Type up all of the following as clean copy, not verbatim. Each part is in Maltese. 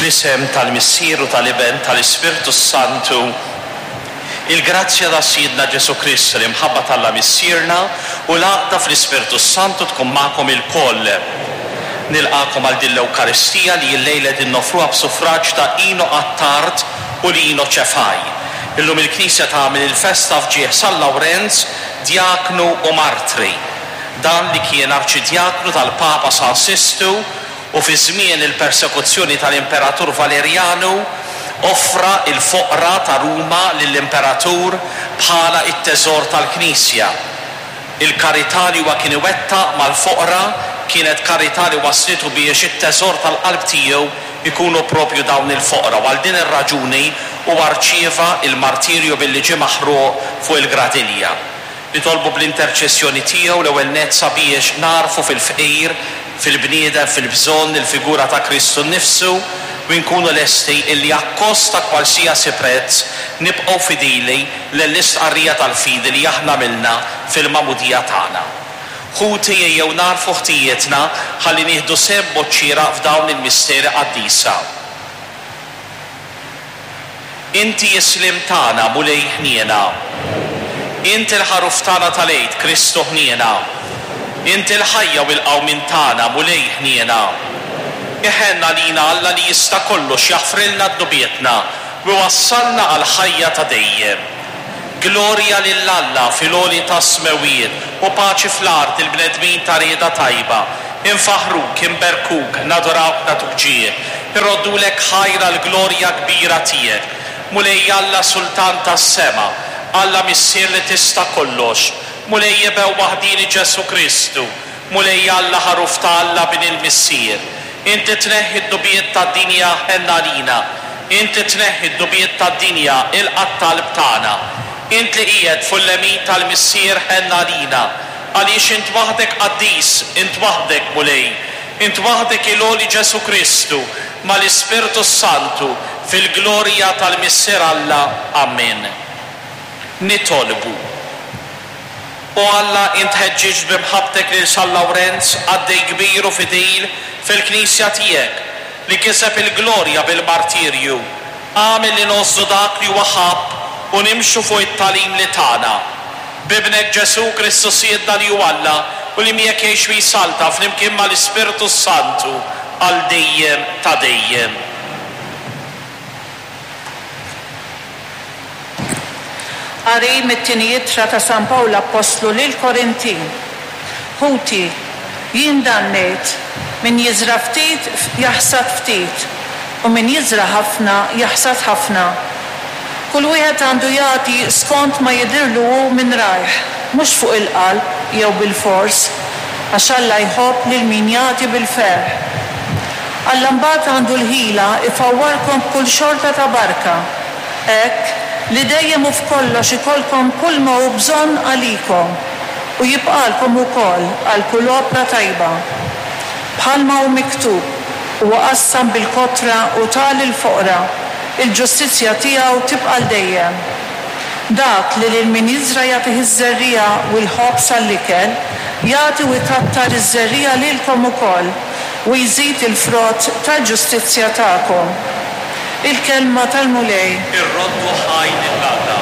Fl-isem tal-Missier u tal-Iben tal-Ispirtu s-Santu, il-grazzja ta' Sidna Ġesù Kristu, l-imħabba t'Alla Missierna u l-għaqda fl-Ispirtu s-Santu tkun magħkom ilkoll. Nilqagħkom għal din l-Ewkaristija li llejla qegħdin noffruha b'suffraġġ ta' Ino Attard u Lino Cefai. Illum il-Knisja tagħmel il-festa f'ġieħ San Lawrenz, djaknu u martri. Dan li kien arċidjaknu tal-Papa San Sistu u fi żmien il-persekuzzjoni tal-Imperatur Valerjanu offra l-foqra ta' Ruma lill-Imperatur bħala t-teżor tal-Knisja. Il-karità li huwa kien iwettaq mal-foqra kienet karità li wasslitu biex it-teżor tal-qalb tiegħu jkunu proprju dawn il-foqra u għal din ir-raġuni huwa rċieva l-martirju billi ġie maħruq fuq il-gradilja. Nitolbu bl-interċessjoni tiegħu l-ewwel nett sabiex nagħrfu fil-fqir, fil-bniedem fil-bżonn, il-figura ta' Kristu nnifsu u nkunu lesti illi akkost ta' kwalsiasi prezz nibqgħu fidili lill-istqarrija tal-fidi li aħna għamilna fil-magħmudija tagħna. Ħuti ejjew nagħrfu ħtijietna ħalli nieħdu sehem b'mod xieraq f'dawn il-misteri qaddisa. Inti s-sliem tagħna, Mulej ħniena. Int il-Ħaruf tagħna tal-Għid, Kristu ħniena. Int il-ħajja u l-qawmien tagħna, Mulej ħniena. Iħenn għalina Alla li jista' kollox jaħfrilna dnubietna u iwassalna għall-ħajja ta' dejjem. Glorja lil Alla fil-għoli tas-smewwiet u paċi fl-art lill-bnedmin ta' rieda tajba. Infaħħruk, inberkuk, nadurawk nagħtuk ġieħ, irroddulek ħajr għall-glorja kbira tiegħek. Mulej Alla Sultan tas-sema, Alla Missier li tista' kollox, Mulej Iben waħdieni Ġesù Kristu, Mulej Alla Ħaruf ta' Alla Bin il-Missier, Int li tneħħi d-dnubiet tad-dinja ħenn għalina. Int li tneħħi d-dnubiet tad-dinja ilqa' t-talb tagħna. Int li qiegħed fuq il-lemin tal-Missier ħenn għalina. Għaliex int waħdek qaddis, int waħdek Mulej, int waħdek il-għoli Ġesù Kristu, mal-Ispirtu s-Santu, fil-glorja tal-Missier Alla. Ammen. Nitolbu. O Alla, int ħeġġiġt bi mħabbtek lil San Lawrenz, qaddej kbir u fidil fil-Knisja tiegħek, li kiseb il-glorja bil-martirju. Agħmel li ngħożżu dak li huwa ħabb u nimxu fuq it-tagħlim li tana. B'Ibnek Ġesù Kristu Sidna li hu Alla u li miegħek jgħix u jsaltan flimkien mal-Ispirtu s-Santu għal dejjem ta' dejjem. Qari mit-Tieni Ittra ta' San Pawl Appostlu lill-Korintin. Ħuti, jien dan ngħid, min jiżra' ftit jaħsad ftit, u min jiżra' ħafna jaħsad ħafna. Kull wieħed għandu jagħti skont ma jidhirlu hu minn rajh, mhux fuq il-qalb jew bilfors, għax Alla jħobb lil min jagħti bil-ferħ. Alla mbagħad għandu l-ħila jfawwarkom b'kull xorta ta' barka, hekk li dejjem u f'kollox ikollkom kulma hu bżonn għalikom, u jibqagħlkom ukoll għal kull opra tajba. Bħalma hu miktub, Huwa qassam bil-kotra u ta lill-foqra, il-ġustizzja tiegħu tibqa' għal dejjem. Dak li lil min jiżra' jagħtih iż-żerriegħa u l-ħobż għall-ikel, jagħti u jkattar iż-żerriegħa lilkom ukoll, u jżid il-frott tal-ġustizzja tagħkom. Il-Kelma tal-Mulej. Irroddu ħajr lil Alla.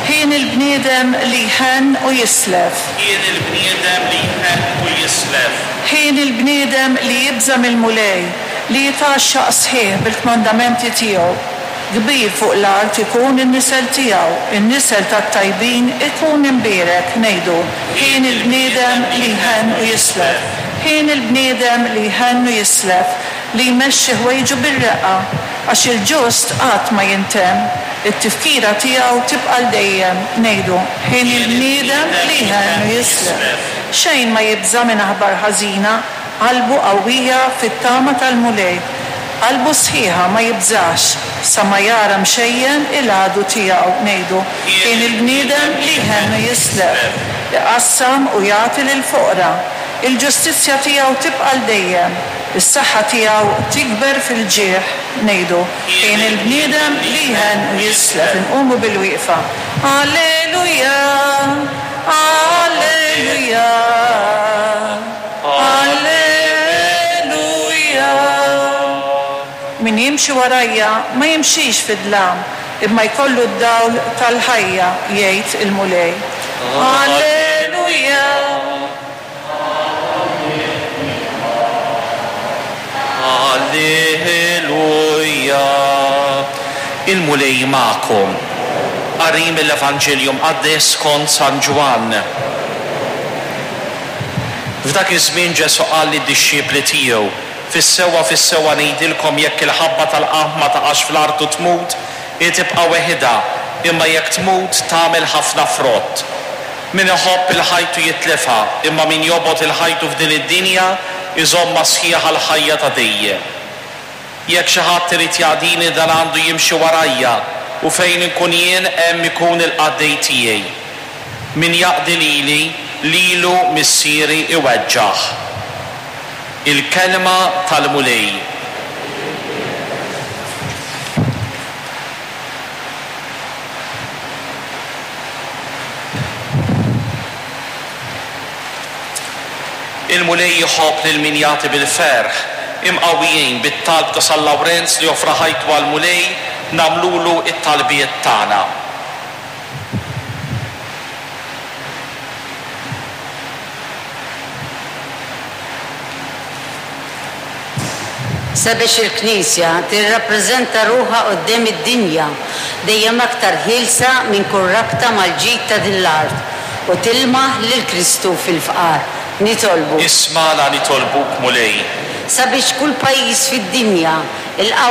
Hieni l-bniedem li jħenn u jislef. Hieni l-bniedem li jħenn u jislef. Hieni l-bniedem li jibża' mill-Mulej, li jitgħaxxaq sħiħ bil-kmandamenti tiegħu. Kbir fuq l-art ikun in-nisel tiegħu, in-nisel tat-tajbin ikun imbierek, ngħidu, Hieni l-bniedem li jħenn u jislef. Hieni l-bniedem li jħenn u jislef, li jmexxi ħwejġu bir-reqqa, għax il-ġust qatt ma jintemm, it-tifkira tiegħu tibqa' għal dejjem, ngħidu, Hieni l-bniedem li jħenn u jislef. Xejn ma jibża' minn aħbar ħażina, Qalbu qawwija fit-tama tal-Mulej, qalbu sħiħa ma jibżax, sa ma jara mxejjen il-għadu tiegħu, ngħidu, Kien il-bniedem li jħenn u jislef, iqassam u jagħti lill-foqra. Il-ġustizzja tiegħu tibqa' għal dejjem, is-saħħa tiegħu tikber fil-ġieħ, ngħidu, Kien il-bniedem li jħenn u jislef. Inqumu bilwieqfa. Alleluja! Alleluja! Alleluja! Min jimxi warajja ma jimxix fid-dlam, imma jkollu d-dawl tal-ħajja, jgħid il-Mulej. Alleluja. Alleluja. Il-Mulej magħkom. Qari mill-Evanġelju Mqaddes skont San Ġwann. F'dak iż-żmien Ġesù qal lid-dixxipli tiegħu, Fis-sewwa, fis-sewwa ngħidilkom jekk il-ħabba tal-qamħ ma taqax fl-art u tmut, hi tibqa' weħidha, imma jekk tmut, tagħmel ħafna frott. Min iħobb 'il ħajtu jitlifha, imma min jobgħod 'il ħajtu f'din id-dinja, iżommha sħiħa l-ħajja ta' dejjem. Jekk xi ħadd irid jaqdini dan għandu jimxi warajja, u fejn inkun jien hemm ikun il-qaddej tiegħi. Min jaqdi lili, lilu Missieri iweġġah. Il-Kelma tal-Mulej. Il-Mulej iħobb lil min jagħti bil-ferħ. Imqawwijin bit-talb ta' San Lawrenz li offra ħajtu għall-Mulej, nagħmlulu t-talbiet tagħna. Sabiex il-Knisja tirrappreżenta ruħha quddiem id-dinja dejjem aktar ħielsa minn kull rabta mal-ġid ta' din l-art u tilmaħ lil Kristu fil-fqar. Nitolbu. Ismagħna nitolbuk, Mulej. Sabiex kull pajjiż fid-dinja, il-qawwa.